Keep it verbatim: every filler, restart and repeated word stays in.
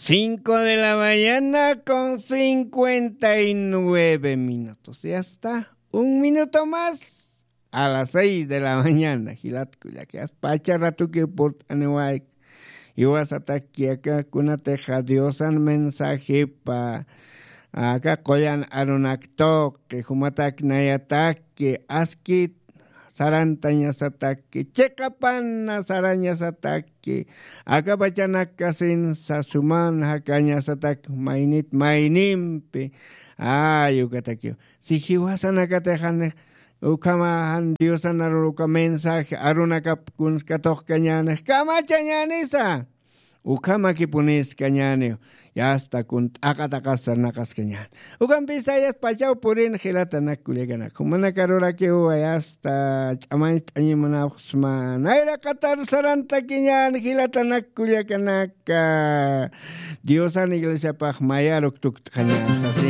Cinco de la mañana con cincuenta y nueve minutos. Ya está. Un minuto más a las seis de la mañana. Jilat kullaka, aspacha ratuki purt'aniwayk. Iwasatakki aka kunatixa Diosan mensajepa aka qullan arunaktuqi, jumatak nayatakki askit sarantañasatakki, chiqapana sarañasatakki, akapachanakasin sasuman jakañasatak maynit maynimpi. Ay, ukatakiw, si jiwasanakatixanix ukhama jan Diosan arur uka mensaje arunakap kunskatuqkañänix kamachañänisa. Ukhamakipuniskañäniw. Yasta kun t'aqat'aqas sarnaqaskañäni. Ukampisa yaspachaw purin jilatanak kullakanak, jumanaka rurakiw yasta ch'amañcht'añimunapxsma. Nayraqatar sarantakiñän jilatanak kullakanaka, Diosan iglesiapax mayaruk tukt'xañän sasin.